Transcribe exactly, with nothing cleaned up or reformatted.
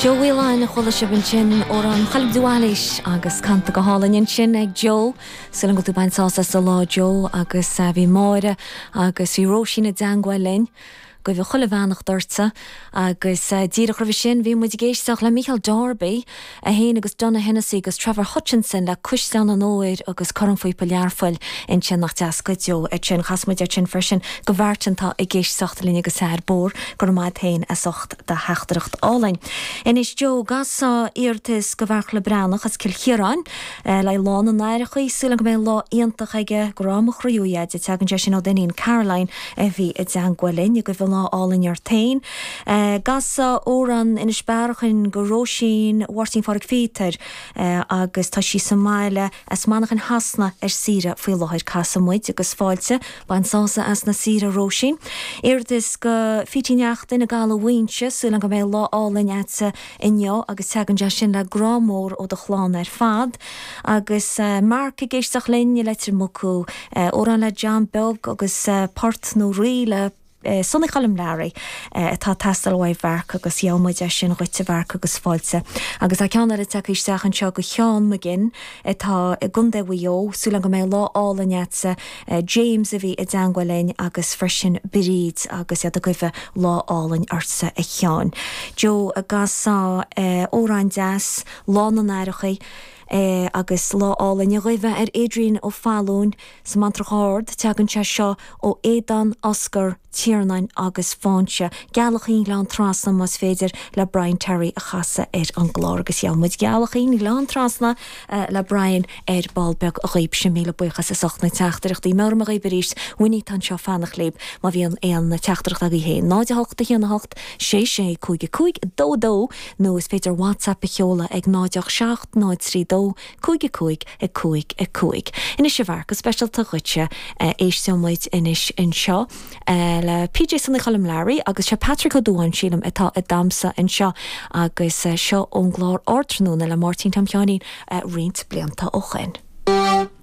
Joe Whelan a chuala sibh ansin amhrán Choilm Dúbhailís agus canta go hálainn ansin ag Joe Súil agam go bhfuil tú ag baint sásamh as an lá Joe agus eh, bhí Máire agus bhí Róisín i dteagmháil linn. Go bhfuil chuile bheannacht ortsa agus uh, díreach roimhe sin bhí muid ag éisteacht le Michael Darby é féin agus Donogh Hennessy agus Trevor Hutchinson le Cuisleán an Óir agus Cornphíopa Learphoill ansin nach deas go deo é sin chas muid é sin freisin go bhfeartantá ag éisteacht linn agus ar bór gur maid féin as ucht do theachtaireacht álainn. Anois Joe gasa iarratas go bhfearcla Breathnach as Cill Chiaráin eh, le lá na n-aithreacha súil go mbeidh lá iontach aige grá mo chroí de teagann sé sin ó d'iníon Caroline a bhí i dteagmháil linn go bhfuil lá álainn ort féin. Eh, Gasa amhrán Inis Bearachain go Róisín Mháirtín Phádraig Phíotair eh, agus tá sí sa mbaile as Manchain Shasana ar saoire faoi láthair casfaidh muid agus fáilte bain sásamh as na saoire Róisín. Iarratas go Fitíneachtain i Gallmhaoinse súil go mbeidh lá álainn agat inniu agus teagann sé sin le grá mór ó do chlann ar fad. agus uh, Mark ag éisteacht linn le Mucú uh, amhrán le John Beag agus uh, port nó rí le Eh, Sonny Choilm Learaí atá teastáil uaidh Mharc agus gheobhaidh muid sin dhuit a Mharc agus fáilte. Agus a ceann eile tagtha isteach anseo go Sheán McGinn atá i gContae Mhaigh Eo, súil go mbeidh lá álainn agatsa James a bhí i dteagmháil linn agus freisin Bríd agus iad ag guí lá álainn ortsa a Sheáin. Joe a gasa amhrán deas lá na n-aithreacha, Eh, agus lá álainn a ghabh ar Adrian Ó Fallún sa Mantrach Ard teagann sé seo ó Éadan Oscar Tiarnáin agus Fáinse. Gealach an Ghleann Trasna más féidir le Brian Terry a chasadh ar an gclár agus gheobhaidh muid Gealach an Ghleann Trasna uh, le Brian ar ball beag a ghaib sin míle buíochas as ucht na teachtaireachtaí mar a ghaib arís Winnie tá seo fanacht libh má bhíonn aon teachtaireacht agaibh féin. Náid hocht a haon hocht sé sé cúig cúig dó dó nó is féidir WhatsApp a sheoladh ag náid seacht náid trí dó cúig cúig a cúig a cúig. Anois a Mharc go speisialta dhuitse éisteoidh muid anois anseo le PJ Sonny Choilm Learaí agus sé Patrick Ó Dúáin sílim atá ag damhsa anseo agus seo ón gclár Ardtráthnóna le Máirtín Tom Sheáinín roinnt blianta ó shin.